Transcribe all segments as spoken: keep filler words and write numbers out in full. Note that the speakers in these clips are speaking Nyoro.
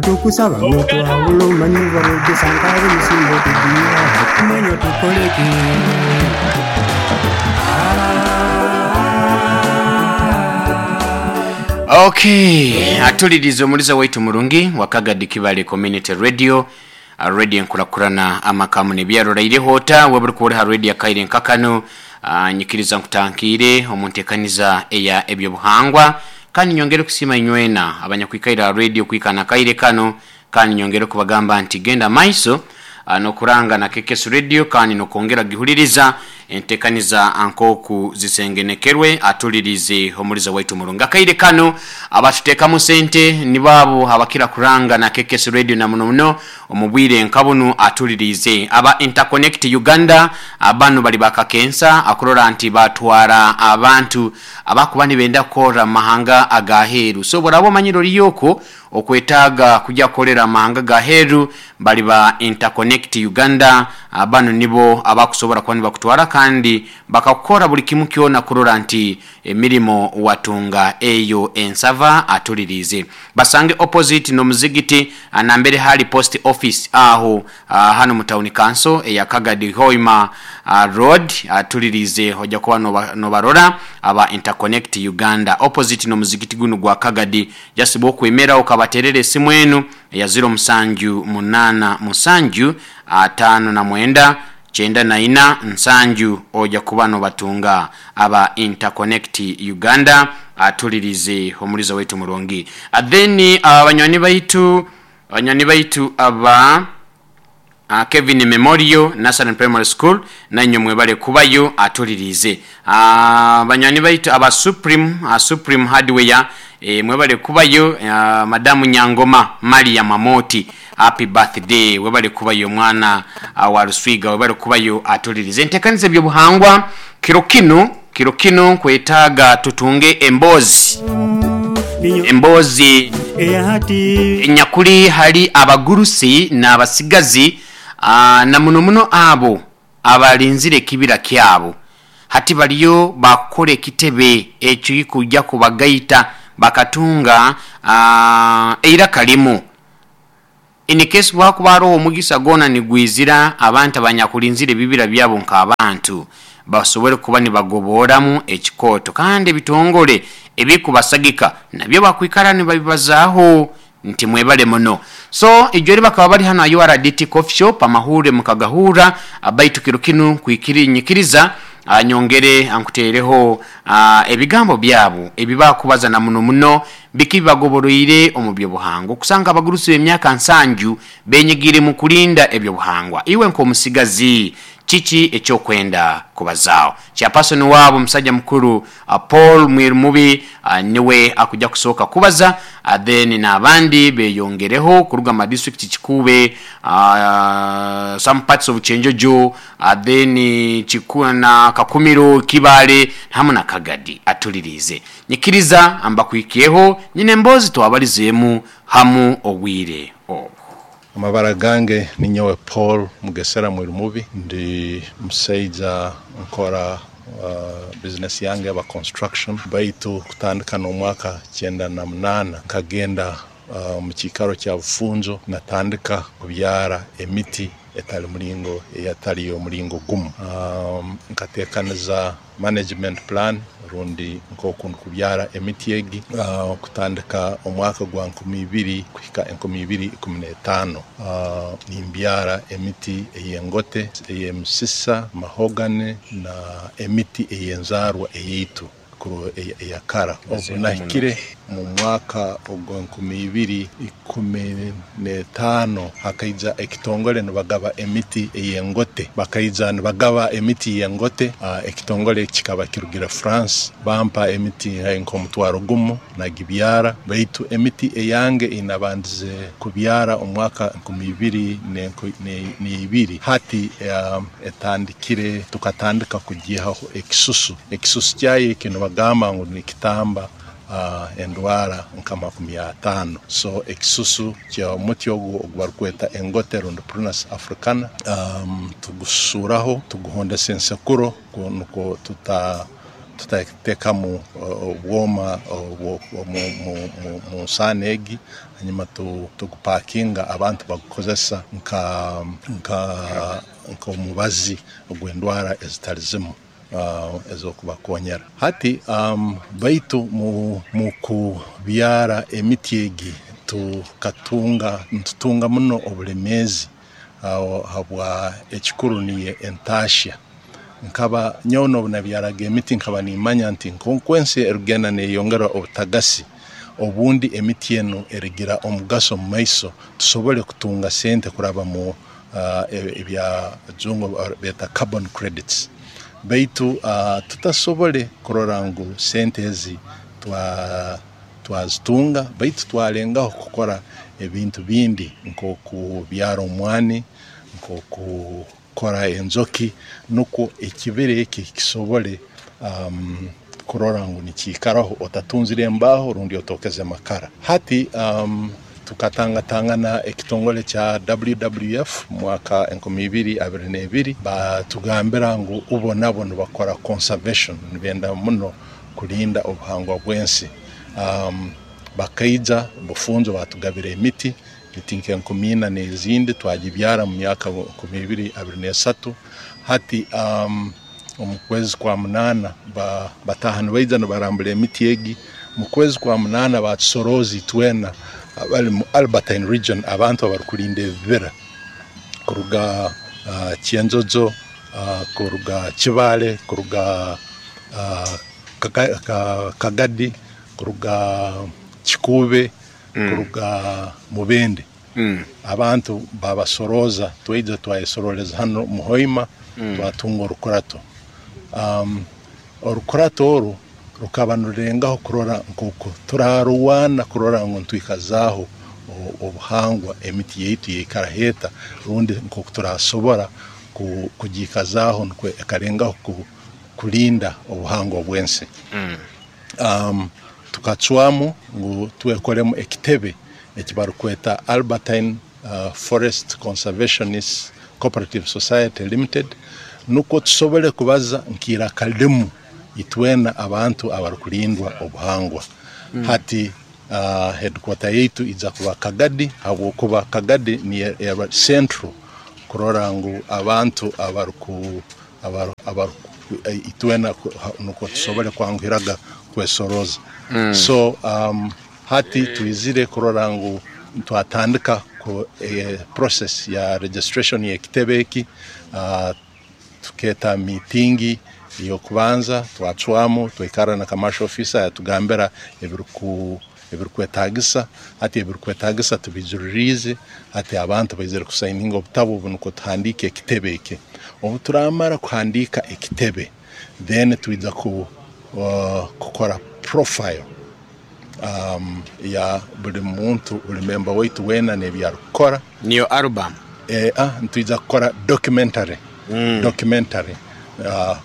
Tukusaba ng'otwawula omanyi balwedde musimba okugira mwenyo tukoleki. Okay, atuliriza omuliza waitu murungi wakagadi Kibale Community Radio, radio enkurakurana amakamu nebyarora hota weburi kuboreha radio kaire nkakano. Uh, nyikiriza nkutankiire omuntekaniza eya ebyobuhangwa kandi nyongere kusima inywena abanyakwikaira radio kwikana kaire kano kandi nyongere kubagamba nti genda maiso uh, nokuranga na K K S Radio kandi nokongera gihuliriza entekaniza ankoku zisengenekerwe. Atulirize omuliza waitu murunga kaire kano abatutekamu sente nibabo abakira kuranga na K K S Radio na muno muno omubwire nkabunu. Atulirize aba Interconnect Uganda abanu bali bakakensa akurora nti batwara abantu abakuba nibenda kora mahanga agaheru. So borabo manyiro liyoko okwetaga kujya kolera mahanga gaheru bali ba Interconnect Uganda abanu nibo abakusobora kwani bakutwara kandi bakakora buli kimu kyona kurora nti emirimo watunga eyo ensava. Atulirize basange opposite no muzigiti nambere hali post office aho uh, hano mu town council eya Kagadi Hoima uh, road. Atulirize hoja kuba no barora aba Interconnect Uganda opposite no muzigiti guno gwa Kagadi jasibo kwemera okabaterere simu enu ya zero musanju munana musanju atano na mwenda chenda na ina nsanju oja kubano batunga aba Interconnect Uganda. Atulirize omuliza wetu murungi. Then abanywani baitu abanywani baitu aba uh, Kevin Memorial National Primary School nanyo mwebale kubayo. Atulirize abanywani uh, baitu aba Supreme uh, Supreme Hardware e, mwebale kubayo. uh, Madamu Nyangoma Maria Mamoti, happy birthday, webale kubayo mwana uh, wa Ruswiga, webale kubayo. Atulirize entekaniza ebyobuhangwa kiro kino kiro kino kwetaga tutunge embozi embozi enyakuli hali abagurusi n'abasigazi uh, na muno muno abo abalinzire kibira kyabo hati baliyo bakore kitebe ekyo kujja kubagaita bakatunga uh, eira kalimu in case wakubaro omugisa gona nigwizira abantu abanyakulinzire bibira byabo nk'abantu basobole kuba nibagoboramu ekikoto kandi bitongole ebikubasagika nabyo bakwikara nibabibazaaho nti mwebale muno. So ijori bakaba bali hano U R D T Coffee Shop amahure mukagahura abaitu kiro kinu kwikiri nyikiriza anyongere ankutereho ebigambo byabo ebibakubaza na muno muno bikibagoboroire omubyo buhango kusanga abagurusi b'emyaka nsanju benyigire mu kulinda ebyo buhangwa. Iwe nko musigazi kiki ekyokwenda kubazao chairperson wabo musajja mukuru uh, Paul Mwirumubi uh, niwe akuja kusoka kubaza uh, then n'abandi beyongereho kuruga ma district Kikube, uh, some parts of Chenjojo, uh, then Chikuna na Kakumiro, Kibale hamwe na Kagadi. Atulirize nyikiriza amba kuikieho nyine mbozi twabalizemu hamu ogwire obo. Amabara gange ni nyowe Paul Mugesera Mwirumubi, ndi musaija nkora uh, business yange aba construction baitu kutandika n'omwaka kyenda na munana nkagenda uh, mu kikaro kya Bufunjo natandika kubyara emiti etali mulingo eyatali omulingo gumu. Um, nkatekaniza management plan rundi nkokundu kubyara emiti egi uh, kutandika omwaka gwa nkumi ibiri kuhika enkumi ibiri ikumi n'etaano. Uh, nimbyara emiti ey'engote, ey'emisisa, mahogane na emiti ey'enzarwa eyeitu eyakara. Obu nahikire mu mwaka ogwa nkumi ibiri ikumi n'etaano hakaija ekitongole nibagaba emiti ey'engote, bakaija nibagaba emiti y'engote. Uh, ekitongole kikaba kirugira France, bampa emiti nk'omutwaro gumu nagibyara, baitu emiti eyange inabandize kubyara omwaka nkumi ibiri n'ibiri. Hati um, etandikire tukatandika kugihaho ekisusu. Ekisusu kyayo kino bagamba ngu nikitamba uh, endwara nka makumi atano. So ekisusu kya muti ogu ogubarikweta engote rundi Prunus africana, um, tugusuraho tuguhondesa ensekuro nukwo tuta Tutatekamu obwoma mu nsaano egi, hanyuma tugupakinga abantu bagukozesa nka nka nk'omubazi ogw'endwara ezitali zimu uh, ez'okubakonyera. Hati um, baitu mu, mu kubyara emiti egi tukatunga ntutunga muno obulemeezi uh, habwa ekikuru niye entashya. Nkaba nyowe obu nabyaraga emiti nkaba nimanya nti nkonkwensi erugenda neyongera obutagasi, obundi emiti enu erigira omugaso mu maiso tusobole kutunga sente kuraba mu uh, ebya jungo beta carbon credits. Baitu uh, tutasobole kurora ngu sente ezi twa twazitunga, baitu twalengaho kukora ebintu bindi nk'okubyara omwani, nk'okukora enjoki, nukwo ekibira eki kisobole um, kurora ngu nikiikaraho otatunzire embaho rundi otokeze makara. Hati um, tukatangatangana ekitongole kya W W F mwaka enkumi ibiri abiri n'ebiri, batugambira ngu ubo nabo nibakora conservation, nibenda muno kulinda obuhangwa bw'ensi. Um, bakaija bufunzo batugabira emiti emiti nk'enkumi ina n'ezindi twagibyara mu myaka enkumi ibiri abiri n'esatu. Hati um, omu kwezi kwa munana ba, bataha nibaija nibarambura emiti egi. Mu kwezi kwa munana batusorozi itwena abali mu Albertine region, abantu abarukulinda ebibira kuruga uh, Kyenjojo, uh, kuruga Kibale, kuruga uh, Kagadi, kuruga Kikube, mm. kuruga Mubende. Mm. Abantu babasoroza twaija twayesoroleza hano Muhoima, mm. twatunga orukurato. Um, orukurato oru rukaba nurengaho kurora nk'uko turaruwana kurora ngu ntwikazaaho obuhangwa emiti yaitu yeikara heta, rundi nk'oku turasobora kugikazaaho nukwo ekarengaho kulinda obuhangwa bw'ensi. Mm. Um, tukacwamu ngu twekoremu ekitebe ekibarukweta Albertine uh, Forest Conservationist Cooperative Society Limited, nukwo tusobole kubaza nk'iraka limu itwena abantu abarukulindwa obuhangwa. Mm. Hati uh, headquarter yaitu iza kuba Kagadi, habwokuba Kagadi ni era central kurora ngu abantu abaruku abaru, abaru itwena nukwo tusobole kwanguhiraga kwesoroza. Mm. So um, hati tuizire kurora ngu twatandika ku eh, process ya registration ya kitebe eki. Uh, tuketa meetingi yokubanza twacwamu twikara na commercial officer yatugambira ebiruku ebirukwetagisa. Hati ebirukwetagisa tubijuririze, hati abantu baizire kusayininga obutabo bunuko tuhandike ekitebe eki. Obu turamara kuhandika ekitebe, then tuiza ku uh, kukora profile um, ya buli muntu, buli member waitu wena n'ebyarukukora. Niyo album eh, ah, ntuiza kukora documentary. Mm. Documentary uh,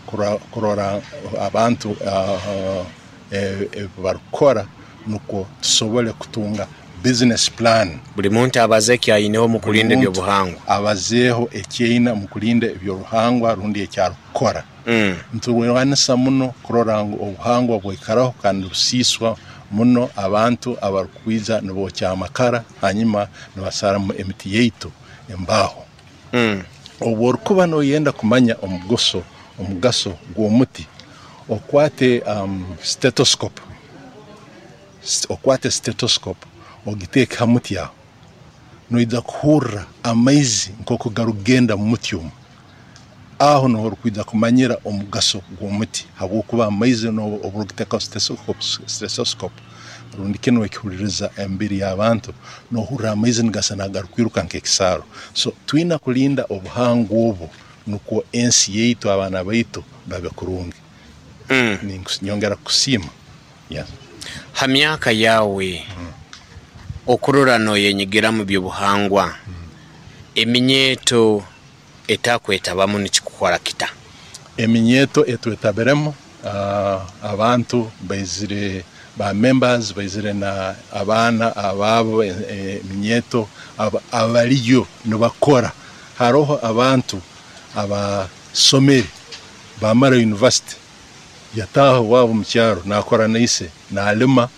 kurora abantu uh, uh, e, e, barukora nuko tusobole kutunga business plan. Buli muntu abaze ekyayineho mu kulinda ebyobuhangwa, abazeeho ekyaina mu kulinda ebyobuhangwa rundi ekyarukukora. Mm. Nturwanisa muno kurora ngu obuhangwa bwaikaraho kandi busiswa muno abantu abarukwija nibokya amakara hanyuma nibasaramu emiti yaitu embaho. Mm. Obu orukuba noyenda kumanya omugaso omugaso gw'omuti, okwate um, stethoscope, okwate stethoscope ogiteeke ha muti aho, noija kuhurra amaizi nk'oku garugenda mu muti omu. Aho niho orukwija kumanyira omugaso gw'omuti, habwokuba amaizi obu orugiteekaho stethoscope rundi kinu ekihuririza emibiri y'abantu, nohurra amaizi nigasa nagarukwiruka nk'ekisaaro. So twina kulinda obuhangwa obu nukwo ensi yaitu abaana baitu babe kurungi. Mm. Nyongera kusiima. Yes. Ha myaka yawe mm. okurora noyenyigira mu byobuhangwa, mm. eminyeto etakwetabamu nikikukora kita? Eminyeto etwetabiremu uh, abantu baizire ba members baizire na abaana ababo eminyeto abaliyo nibakora. Haroho abantu abasomere bamara university Yataaha owaabo mu kyaro naakora na ise, naalima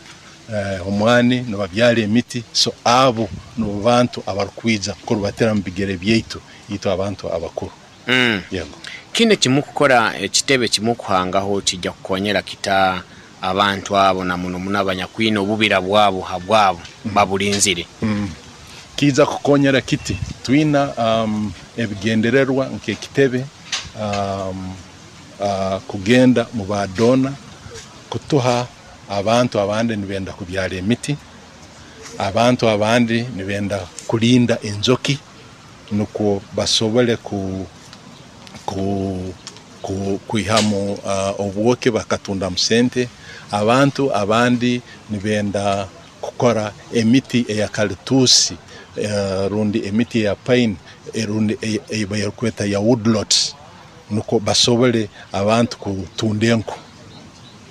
eh, omwani, nibabyara emiti. So abo nibo bantu abarukwija kurubatira mu bigere byaitu, itwe abantu abakuru. Mm. Yego. Kinu ekimukukora, ekitebe kimukuhangaho kijja kukonyera kita abantu abo, na muno muno abanyakwine obubira bwabo habwabo babulinzire? Mm. Kiija kukonyera kiti? Twina um, ebigendererwa nk'ekitebe um, uh, kugenda mu badona kutuha abantu abandi nibenda kubyara emiti, abantu abandi nibenda kulinda enjoki nukwo basobole ku, ku, ku, kwihamu uh, obwoki bakatundamu sente. Abantu abandi nibenda kukora emiti eya kalitusi, uh, rundi emiti eya pine, rundi ebarukweta ya woodlots, nukwo basobole abantu kutunda enku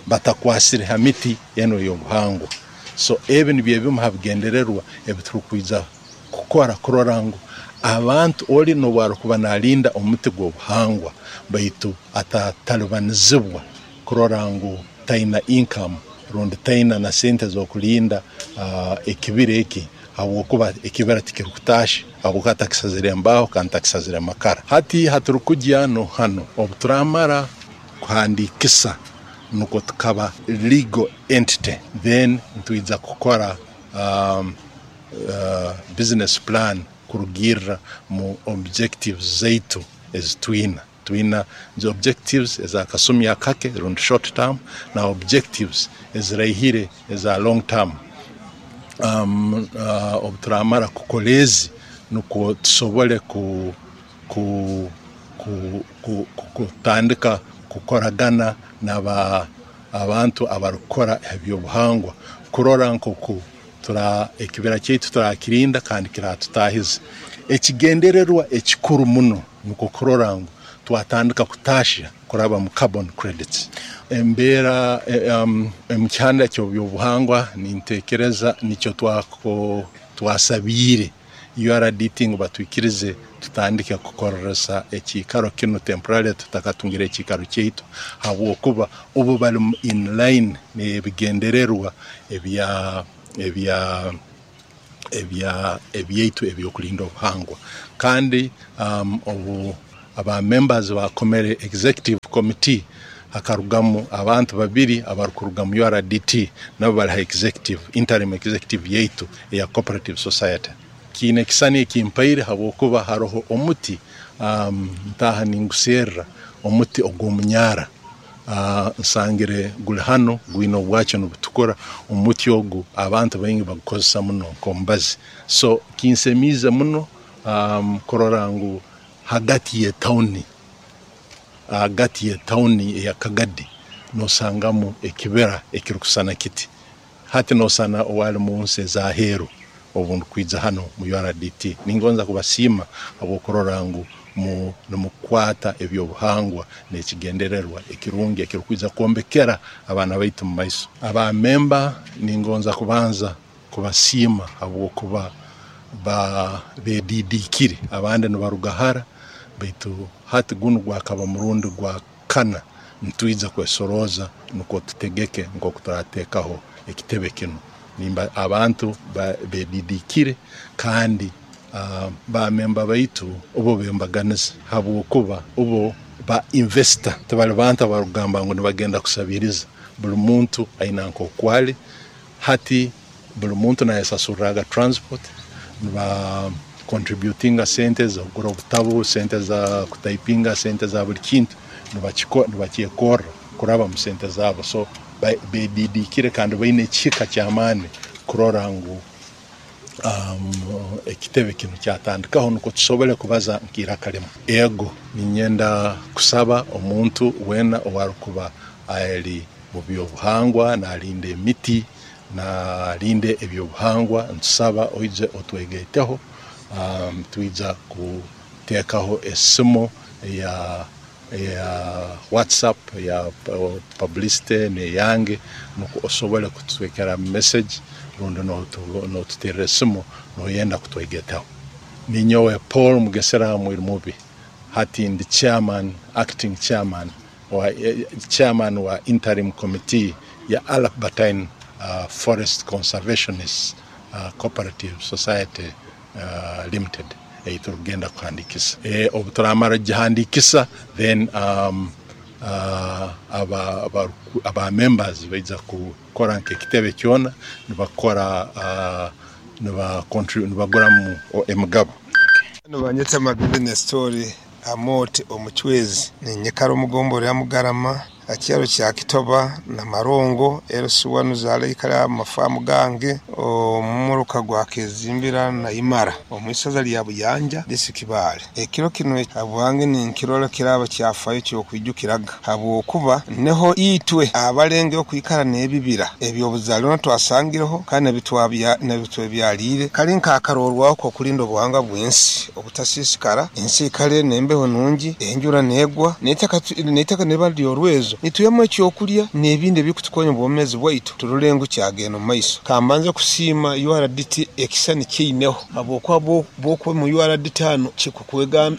batakwasire ha miti eno y'obuhangwa. So ebi nibyo ebimu ha bigendererwa ebiturukwija kukora, kurora ngu abantu oli n'obu arukuba nalinda omuti gw'obuhangwa baitu atatalibanizibwa kurora ngu taina income rundi taina na sente z'okulinda uh, ekibira eki, habwokuba ekibira tikirukutaasha, habwokuba takisazire embaho kandi takisazire amakara. Hati haturukujya no hano obu turamara kuhandikisa nukwo tukaba legal entity, then ntwija kukora um, uh, business plan kurugirra mu objectives zaitu ezitwina. Twina the objectives ezakasumi akake rundi short term, na objectives eziraihire eza long term. Um, uh, obu turamara kukora ezi nukwo tusobole ku, ku, ku, ku, ku, kutandika kukoragana n'aba abantu abarukukora ebyobuhangwa, kurora nkoku tura ekibira kyaitu turakirinda kandi kiratutahiza. Ekigendererwa ekikuru muno nukwo kurora ngu twatandika kutasha kuraba mu carbon credits. Embeera um, mu kihanda ky'ebyobuhangwa nintekereza nikyo twako twasabiire U R D T ngu batwikirize tutandike kukoresa ekiikaro kinu temporary tutakatungire ekiikaro kyaitu, habwokuba obu bali in line n'ebigendererwa ebya ebya ebya ebyaitu ebyokulinda obuhangwa. Kandi um, obu aba members bakomere executive committee hakarugamu abantu babiri abarukuruga mu U R D T, nabo bali ha executive, interim executive yaitu eya cooperative society. Kiine ekisani ekimpaire habwokuba haroho omuti um, ntaha ninguserra omuti ogw'omunyara. Uh, nsangire guli hano gwine obwakyo nibutukura. Omuti ogu abantu baingi bagukozesa muno nk'omubazi. So kinsemiize muno um, kurora ngu hagati y'etawuni, hagati y'etawuni eya Kagadi nosangamu ekibira ekirukusana kiti. Hati nosana owali mu nsi ez'aheeru obu ndikwija hano mu U R D T. Ningonza kubasiima habw'okurora ngu mu nimukwata ebyobuhangwa n'ekigendererwa ekirungi ekirukwija kwombekera abaana baitu mu maiso. Abamemba ningonza kubanza kubasiima habwokuba ba bedidikire, abandi nibaruga hara, baitu hati gunu gwakaba murundi gwa kana nitwija kwesoroza nukwo tutegeke nk'oku turateekaho ekitebe kinu. Nimba abantu bedidikire kandi uh, bamemba baitu obo bembaganiza habwokuba obo ba investor tibali bantu abarugamba ngu nibagenda kusabiriza. Buli muntu aina nkokwali hati buli muntu nayesasurraga transport, niba contributinga sente za kugura obutabu, sente za kutaipinga, sente za buli kintu nibakyekorra kuraba mu sente zabo. So bedidikire kandi baine ekihika ky'amaani kurora ngu um, ekitebe kinu kyatandikaho nukwo tusobole kubaza nk'iraka limwe. Ego ninyenda kusaba omuntu wena owarukuba ali mu byobuhangwa nalinda emiti nalinde ebyobuhangwa, ntusaba oije otwegeteho. Um, twija kuteekaho esimu ya ya WhatsApp ya publicity neyange nukwo osobole kutwekera message rundi notuterera esimu noyenda kutwegetaho. Ninyowe Paul Mugesera Mwirumubi, hati ndi chairman, acting chairman wa, chairman wa interim committee ya Albertine uh, Forest Conservationists uh, Cooperative Society uh, Limited ei turugenda kuhandikisa. E, obu turamara gihandikisa, then um, uh, aba, aba, aba members baija kukora nk'ekitebe kyona nibakora uh, nibaguramu emigabo. Nibanyeta Magezi Nestori Amote Omuchwezi, ninyikara omugombora ya Mugarama, akyaro kya Kitoba na Marongo L C one zale ikara amafamu gange omumuruka gwa Kezimbira na Imara omwisaza lya Buyanja, disitulikiti Kibaale. Ekiro kino habwange ninkirora kiraba kyafayo kyokwijukiraga, habwokuba neho itwe abalenge okwikara n'ebibira ebyobuzalirwa twasangireho kandi nebitwebyalire kali nkakarorwaho kokulinda obuhanga bw'ensi obutasisikara, ensi ikale nembeho nungi, enjura negwa neitaka neba lyorwezo, nituyemu ekyokulya n'ebindi ebikutukonya obwomezi bwaitu turole ngu kyagenda omu maiso. Kambanze kusiima U R D T ekisani kiineho, habwokuba bwokuba mu U R D T hano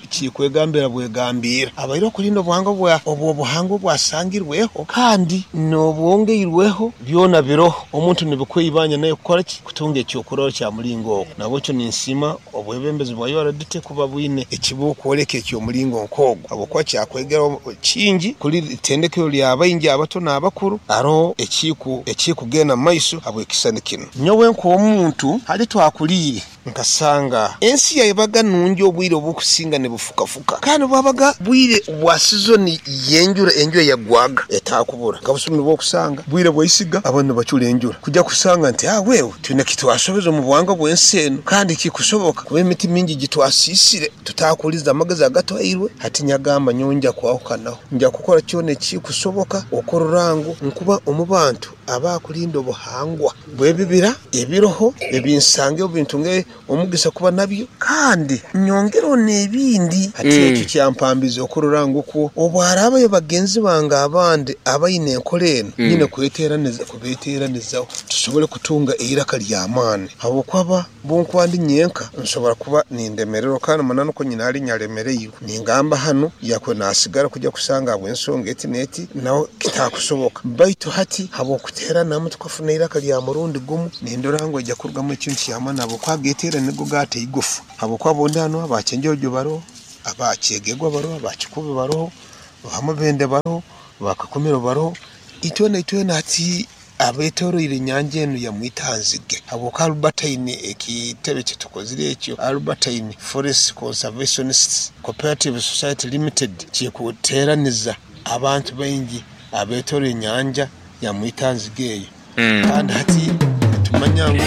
kikwegambira bwegambira abaire okulinda obuhanga bwa obwo obuhanga obwasangirweho kandi n'obwongeirweho, byona biroho omuntu nibikwibanya naye kukora ki kutunga ekyokurora kya mulingo ogwo. Nabwekyo ninsiima obwebembezi bwa U R D T kuba bwine ekibukwoleka ekyomulingo nk'ogwo, habwokuba kyakwegera kingi kuli itendekero lya baingi abato n'abakuru aroho ekiku ekikugenda mu maiso habwekisani kino. Nyowe nk'omuntu hali twakuliire nkasanga ensi yabaga nungi, obwire obukusinga nibufukafuka kandi bwabaga bwire bwa sizoni yenjura, enjura yagwaga etakubura. Nkabusumi bwokusanga bwire bwaisiga abantu nibacura enjura kujya kusanga nti ah, wewe twine kitwasobeza omu buhanga bw'ensi eno kandi kikusoboka kuba emiti mingi gitwasisire tutakuliza amagezi agatwairwe. Hati nyagamba nyowe nja kwahukanaho, nja kukora kyona ekikusoboka okurora ngu nkuba omu bantu abakulinda obuhangwa bw'ebibira ebiroho ebinsange obintunge omugisa kuba nabyo kandi nyongereho n'ebindi. Hati Mm. ekyo kyampambiza okurora ngu kwo obwarabayo bagenzi bange abandi abaine enkora eno Mm. nyine kweteraniza kubeteranizaho tusobole kutunga eiraka ly'amaani, habwokuba bunkuba ndi nyenka nsobora kuba nindemererwa kandi mananu ko nyina ali nyalemereirwe ningamba hano yakwe nasigara kujya kusanga habw'ensonga eti n'eti naho kitakusoboka. Baitu hati habwokuteranamu tukafuna eiraka lya murundi gumu, nindora ngu ejja kurugamu ekintu ky'amaani, habwokuba geteera nigo gata igufu, habwokuba bondi hano abakyenjojo baroho, abakyegegwa baroho, abakikubi baroho, bamubende baroho, bakakumiro baroho, itwena itwena hati abetoroire enyanja enu ya Mwitanzige, habwokuba Albertine ekitebe kyetukozire ekyo Albertine Forest Conservationists Cooperative Society Limited kikuteraniza abantu baingi abetoroire enyanja ya Mwitanzige eyo. Mm. Kandi hati nitumanya ngu